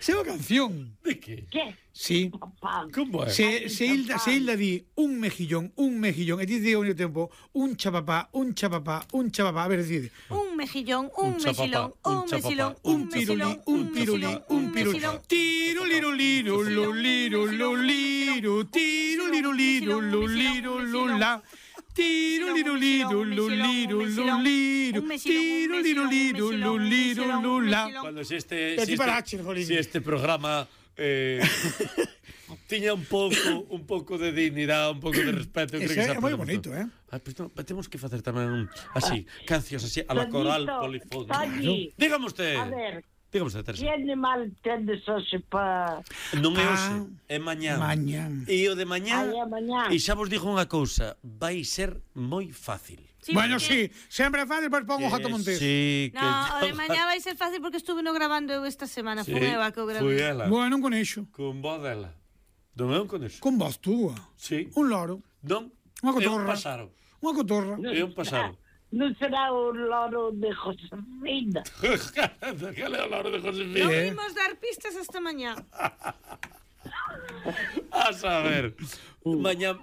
Se é unha canción. De que? Que? Sí. Como é? Se Hilda di un mejillón, e ti di ao mesmo tempo un chapapá. A ver, decide. Un mejillón, un mexilón, un mesilón, Un pirulí, un pirulí, un pirulí. Tiro, liro, liro, lo, liro, tiro, liro, liro, lo, liro, lo, la. Tiro, liro, liro, lo, liro, tiro, liro, liro, lo, liro, lo, la. Cuando si este programa tiña un pouco de dignidade, un pouco de respeto, creo que é moi bonito, pues no, temos que facer tamén así, cancións así a la coral polifónica. Dígame usted. A ver, dígame usted, Teresa. que animal tendes hoxe para... Non é hoxe, é mañán. E o de mañán, e xa vos digo unha cousa, vai ser moi fácil. Sí, bueno, sí, sempre é fácil, pois pongo Jato Montes. Sí, no, o de mañá vai ser fácil porque estuve no grabando eu esta semana, fui Eva que o grabé. Fui ela. Bueno, non conexo. Con voz dela. Non é un conexo. Con voz túa. Sí. Un loro. Non, Unha é cotorra. un pasaro. Unha cotorra. É un pasaro. Non será o loro de Josefina. Cal é o loro de Josefina? Non vimos dar pistas esta mañá. A saber. Mañá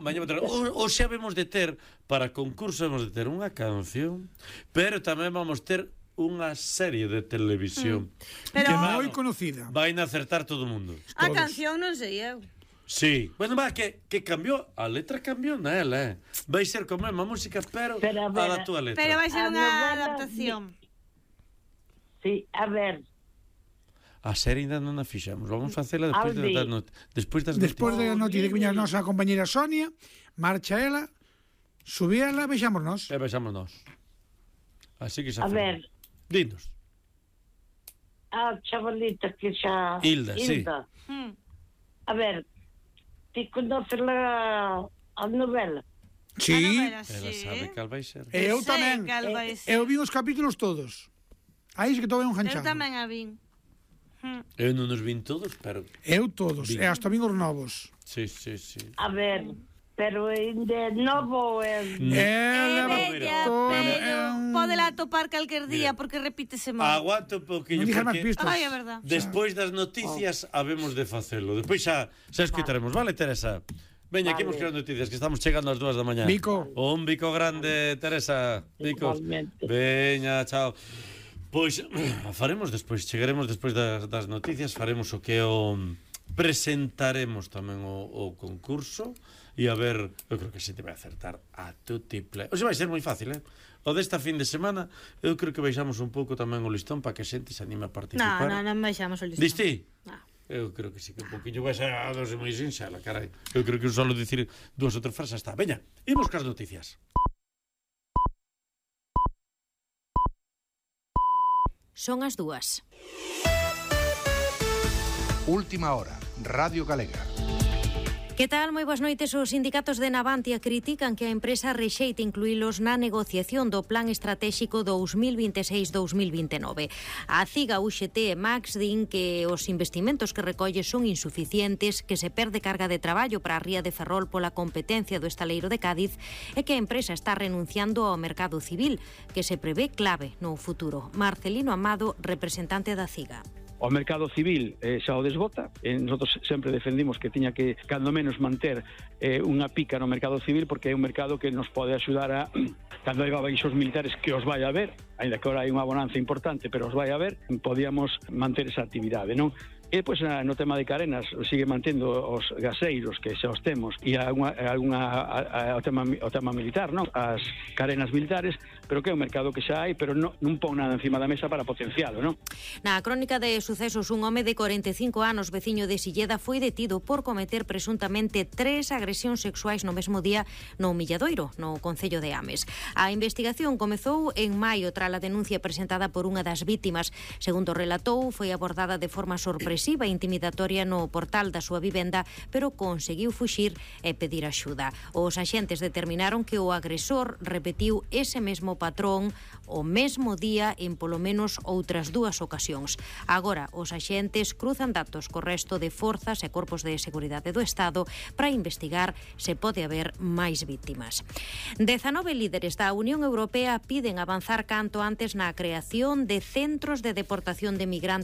o xa vemos de ter para concurso, vemos de ter unha canción, pero tamén vamos ter unha serie de televisión Pero que moi conocida. vai a acertar todo o mundo. a canción non sei eu. Sí, bueno, va, que cambiou, a letra cambiou na ela, vai ser como a música, pero a da túa letra. Pero vai ser A unha novela adaptación. Sí, a ver. A serie ainda non a fixamos, vamos facela despois das noticias. Despois da noticia que viña a nosa compañera Sonia, marcha ela, subíala, vexámonos. E vexamos nós. Así que xa A ver. Dinos. A chavalita que xa... Hilda, sí. A ver, ti conoces a novela? Sí. Ela sabe cal vai ser. Eu tamén. Eu vi os capítulos todos. Aí é que todo é un ganchado. Eu tamén a vin. Eu non os vin todos, pero... Eu todos, e hasta vin os novos. Sí, sí, sí. A ver, pero ainda é novo é... É bella, pero podela topar calquer día porque repítese mal. Aguanta un poquinho, Non dixer máis porque pistas. Ai, é verdad. despois das noticias habemos de facelo. Despois xa escutaremos, vale, Teresa? Veña, aquí imos crear noticias, que estamos chegando ás 2 da mañá. Bico. Un bico grande, Teresa. Bicos. Igualmente. Veña, chao. Pois faremos despois, chegaremos despois das noticias, faremos o que presentaremos tamén o concurso e a ver, eu creo que se te vai acertar a tutiple. O sea, vai ser moi fácil, O desta fin de semana, eu creo que baixamos un pouco tamén o listón para que a xente se anime a participar. Non baixamos o listón. Diste? Eu creo que sí, que un poquinho vai ser a dose moi sinxela, carai. Eu creo que só dicir 2 ou 3 frases está. Veña, imos cas noticias. Son as 2. Última hora, Radio Galega. Que tal? Moi boas noites. Os sindicatos de Navantia critican que a empresa rexeite incluílos na negociación do Plan Estratéxico 2026-2029. A CIGA, UGT e Max din que os investimentos que recolle son insuficientes, que se perde carga de traballo para a ría de Ferrol pola competencia do estaleiro de Cádiz e que a empresa está renunciando ao mercado civil, que se prevé clave no futuro. Marcelino Amado, representante da CIGA. O mercado civil xa o desbota, nosotros sempre defendimos que tiña que, cando menos, manter unha pica no mercado civil, porque é un mercado que nos pode axudar a, cando hai baixos militares, que os vai a ver, ainda que agora hai unha bonanza importante, pero os vai a ver, podíamos manter esa actividade, non? E depois no tema de carenas sigue mantendo os gaseiros que xa os temos e o tema militar, non? As carenas militares, pero que é un mercado que xa hai, pero non pon nada encima da mesa para potencialo, non? Na crónica de sucesos, un home de 45 anos, veciño de Silleda, foi detido por cometer presuntamente 3 agresións sexuais no mesmo día no Milladoiro, no concello de Ames. A investigación comezou en maio tras a denuncia presentada por unha das vítimas. Segundo relatou, foi abordada de forma sorpresiva e intimidatoria no portal da súa vivenda, pero conseguiu fuxir e pedir axuda. Os axentes determinaron que o agresor repetiu ese mesmo patrón o mesmo día en polo menos outras 2 ocasións. Agora, os axentes cruzan datos co resto de forzas e corpos de seguridade do Estado para investigar se pode haber máis vítimas. 19 líderes da Unión Europea piden avanzar canto antes na creación de centros de deportación de migrantes